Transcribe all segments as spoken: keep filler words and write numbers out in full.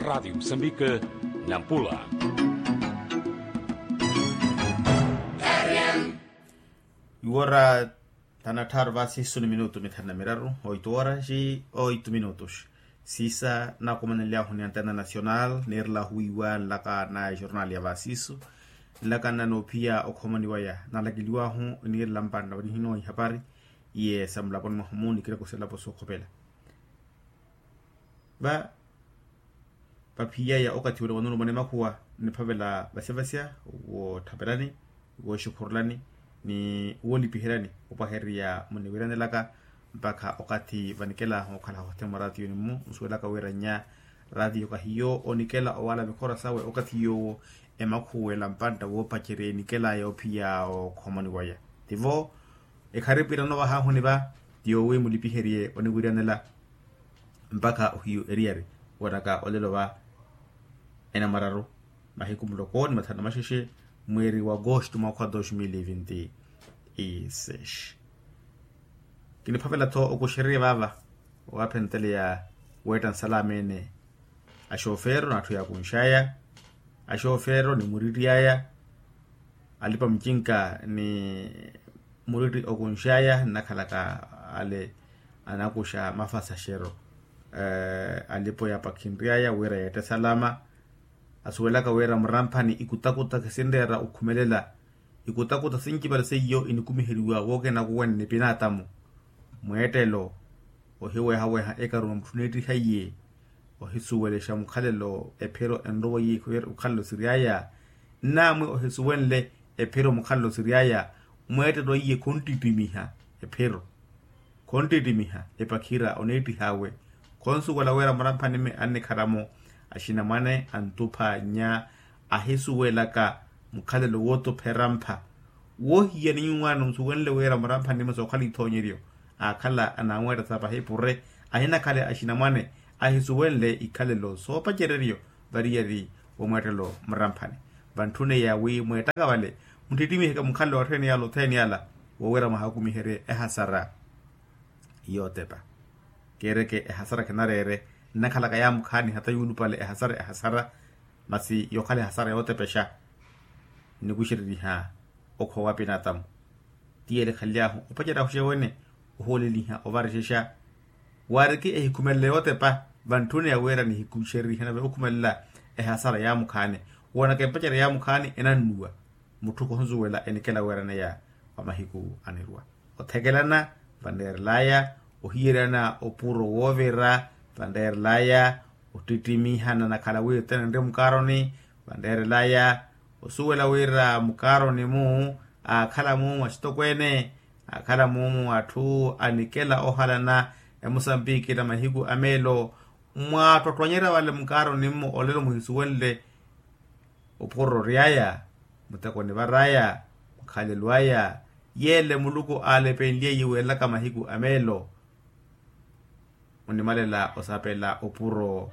Radiyo musambika, nampula. Iwora thanu na tthaaru vaasi isu ni minutu mithanu na miraru. Oito horas oito minutos. Siisa nakumanelyahu ni antena nacional niirela ohuwiiwa nlaka na ejornal ya vaasi isu. Nlaka nna noophiya okhomani waya nalakeliwahu niirela mpantta vanihinowa ihapari iye sa mulaponi mwahu mu nikireko sa elapo sookhopela. Va vaphiyeya okathi ule wanulumana emakhuwa nniphavela vasyavasya wootthapelani, wooxikhurulani ni woolipiheryani opwahererya muniwiranelaka mpakha okathi vanikelahu okhala hothene mwa ratiyoni-mu nsuwelaka wira nnya ratiyo kahiyo onikela owaala mikhora sawe okathi yoowo emakhuwela mpantta woopacerya enikela yoophiya okhomoni waya. Tivo ekharipwira novahahu ni va ti yoowi mulipiherye oniwiryanela mpakha ohiyu eriyari woonaka olelo va enamararu mahiku muloko ni mathanu na maxexe mweeri wa agosto mwaakha wa dos mil e vinte e seis. Kiniphavela-tho okuxererya vaava owaapheneteleya weetta nsalameene axofero n'atthu yaakunxaya axofero ni murittiyaya alipa mucinka ni muritti okunxaya nnakhalaka ale anakuxa mafasaxero alipo yaapakhinryaya wira yeette salama asuwelaka wira muramphani ikutakuta khisinreera okhumelela ikutakuta sincipale seiyo inikumiheriwa wookenakuwani ni pinaatamu mweettelo ohiwehaweha ekaru mwa mutthu neettiha iye ohisuwelexa mukhalelo ephiro enrowa iye mukhalelo siryaya nnaamwi ohisuwenle ephiro mukhalelo siryaya mweettelo iye khonttittimiha ephiro khonttittimiha epakhira oneettih'awe khonsuwela wira muramphani-me annikhara-mo axinamwane antupha nnya ahisuwelaka mukhalelo wootuphera mpha woohiya ni nyuwaani onsuwenle wira muramphani-me sookhala ithoonyeryo aakhala anamweetta sa pahipure ahinakhale axinamwane ahisuwenle ikhalelo soopacereryo variyari womweettelo muramphani vantthune ya wi mweettaka vale muttittimiheke mukhalelo watthene yala othene yala wowira mwahakumiherye ehasara yootepa keereke ehasara khinareere nnakhalaka yaamukhaani hata yuulupale ehasara ehasara masi yookhala ehasara yootepexa nnikuxereriha okhowa pinatamu ti yele ekhanly'ahu opacerya axuxewene ohooleliha ovarexexa waariki ehikhumelela yootepa vantthuni ya wira nihikuxereriha nave okhumelela ehasara yaamukhaani woonaka epacerya yaamukhaani enannuwa mutthu khonsuwela enikela weeraneya wa mahiku anirwa othekelana vanreerelaya ohiyeryana opuro woovira vanreerelaya ottittimihana nakhala wi othene enre mukaaroni vanreerelaya osuwela wira mukaaroni-mu aakhala-mu axitokweene aakhala-mu atthu anikela ohalana emusambiki na mahiku a meelo mwaattottwanyerya vale mukaaroni-mu olelo muhisuwenle ophuroro ory'aya muteko onivar'aya mukhalelo aya yeele muluku aalepenlye yiiwelaka mahiku a meelo onimalela osapela opuro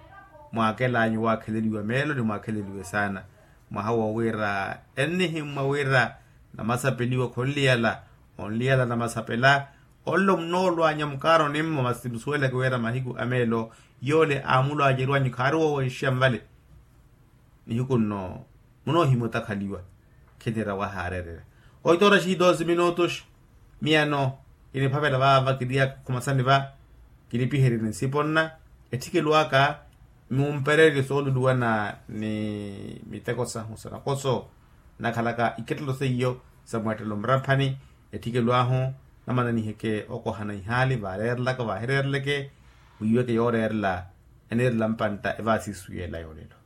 mwaakel'anyu waakheleliwe meelo ni mwaakheleliwe saana mwaha wowira ennihimmwa wira namasapeliwa khonliyala onliyala namasapela onlo munoolw'anya mukaaroni-mo masi musuweleke wira mahiku a meelo yoole aamulw'anyeriw'anyu khaari woowexixa nvale nihiku nno munoohimya otakhaliwa khinira wahaareererya oito horas e doze minutos miyano kiniphavela vaava kiriaka khumasani va kinipiherye ni nsipo nna etthikelo aka mumpererye sooluluwana ni miteko sahu sa nakoso nakhalaka ikettelo seiyo sa mweettelo muramphani etthikelo ahu namananiheke okohana ihaali vaareerelaka vaahireereleke wiiweke yooreerela eniirela mpantta evaasisu yeela yoolelo